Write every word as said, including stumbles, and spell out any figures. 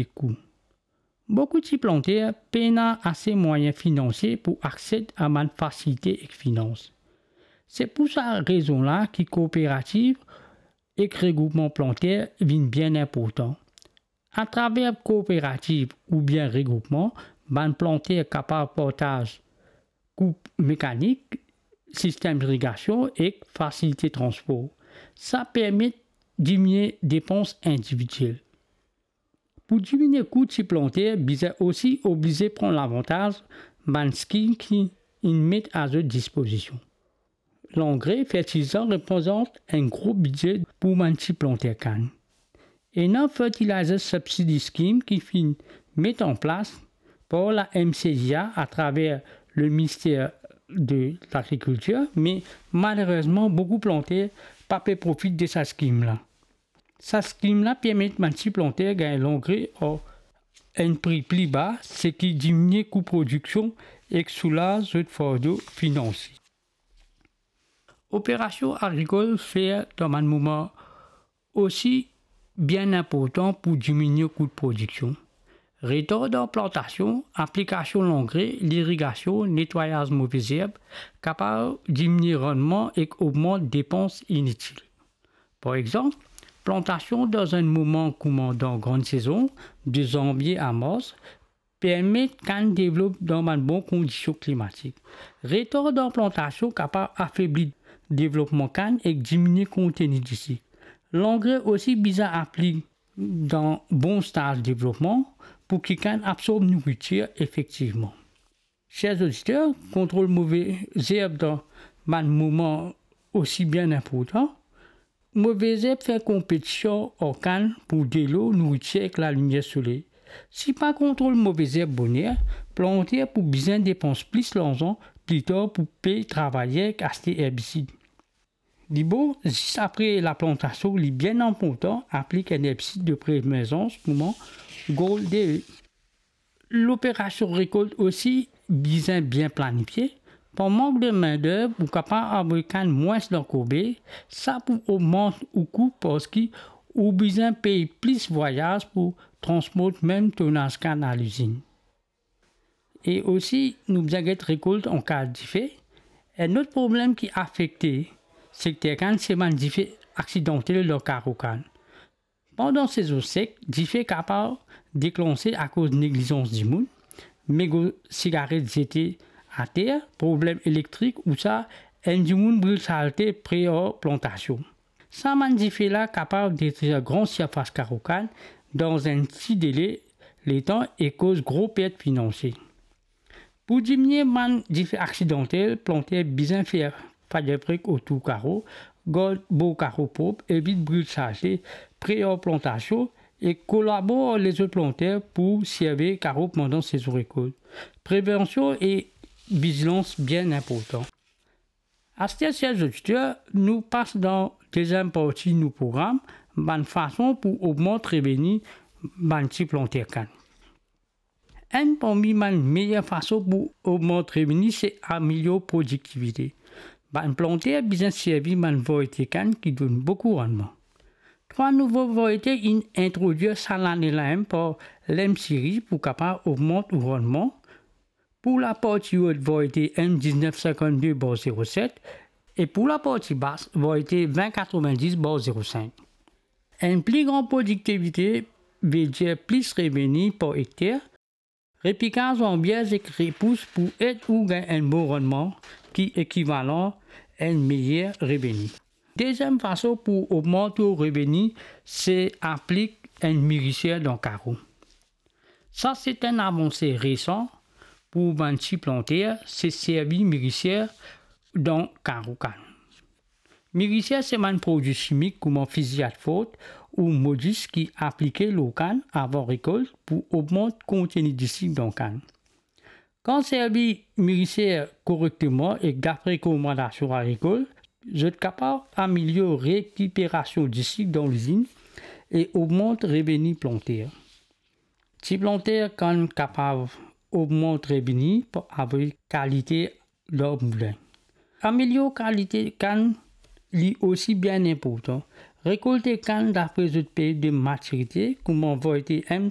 kou. Boukou ti planter pena ase mwayin finansie pou akses a bann fasilite ek finans. Se pou sa rezon la ki kooperativ ek regroupman planter vinn bien inportan. Atraver kooperativ oubien regroupman, bann planter kapav partaz koup mekanik, sistem irigasion ek fasilite transpor. Sa permet diminie depans individiel. Pou diminie kou ti planter, bizin osi oblize pran lavantaz bann skim ki inn met a zot dispozision. Langre, fertilizan reprezant enn gro bidze pou bann ti planter kann. Ena Fertilizer Subsidy Scheme ki finn met an plas par la M C I A atraver le Minister de Lagrikiltir, me malerezman, boukou planter pa pe profit de sa skim la. Sa skim la permet bann ti planter gagn langre ar enn pri pli ba, seki diminie kou prodiksion ek soulaz zot fardo finansie. Operasion agrikol fer dan bann moman osi bien inportan pou diminie kou prodiksion. Retar dan plantasion, aplikasion langre, lirigasion, netwayaz move zerb kapav diminie rannman ek ogmant depans initil. Par exanp, plantasion dan enn moman kouma dan gran sezon, de zanvie a mars, permet kann devlop dan bann bon kondision klimatik. Retar dan plantasion kapav afebli devlopman kann ek diminie konteni disik. Langre osi bizin aplik dan bon staz devlopman pou ki kann absorb nouritir efektivman. Ser zoditer, kontrol move zerb dan bann moman osi bien inportan. Move zerb fer konpetision ar kann pou delo, nouritir ek lalimier soley. Si pa kontrol move zerb boner, planter pou bizin depans plis larzan pli tar pou pey travayer ek aste erbisid. Dibor, zis apre laplantasion, li bien inportan aplik enn erbisid de premerzans kouma Gold D E. Loperasion rekolt osi bizin bien planifie. Par mank de minderv, ou kapav avoy kann mwins dan korbe, sa pou ogmant ou kou parski ou bizin pey plis vwayaz pou transport mem tonaz kann a lizinn. E osi, nou bizin get rekolt an ka dife. Enn lot problem ki afekte sekter kann, se bann dife aksidantel dan karo kann. Pandan sezon sek, dife kapav deklanse akoz neglizans dimoun, mego sigaret zete ater, problem elektrik ousa enn dimoun bril salte pre ar plantasion. Sa bann dife la kapav detrir gran sirfas karo kann dan enn ti dele letan e koz gro pert finansie. Pou diminie bann dife aksidantel, planter bizin fer fire break otour karo, gard bor karo prop, evit bril salte pre ar plantasion e kolabor ar lezot planter pou serve karo pandan sezon rekolt. Prevension e vizilans bien inportan. Aster, ser zoditer, nou pas dan deziem parti nou program, bann fason pou ogmant reveni bann ti planter kann. Enn parmi bann meyer fason pou ogmant reveni se amelior prodiktivite. Bann planter bizin servi bann variete kann ki donn boukou rannman. Trwa nouvo variete inn introdwir sa lane la mem par l'M C I R I pou kapav ogmant ou rannman. Pou laparti rod, variete M diznef sinkannde bar zeroset, e pou laparti bas, variete vin katrovindis bar zerosink. Enn pli gran prodiktivite ve dir plis reveni par ekter. Repikaz zanbierz ek repous pou ed ou gagn enn bon rannman ki ekivalan enn meyer reveni. Deziem fason pou ogmant ou reveni, se aplik enn miriser dan karo. Sa se enn avanse resan pou bann ti planter, se servi miriser dan karo kann. Miriser se bann prodwi simik kouma fiziat fort ou modis ki aplike lor kann avan rekolt pou ogmant konteni disik dan kann. Kan servi miriser korekteman ek dapre rekomandasion agrikol, zot kapav amelior rekiperasion disik dan lizinn e ogmant reveni planter. Ti planter kann kapav ogmant reveni par avoy kalite lor moulin. Amelior kalite kann li osi bien inportan. Rekolte kann dapre zot period de matirite, kouma variete M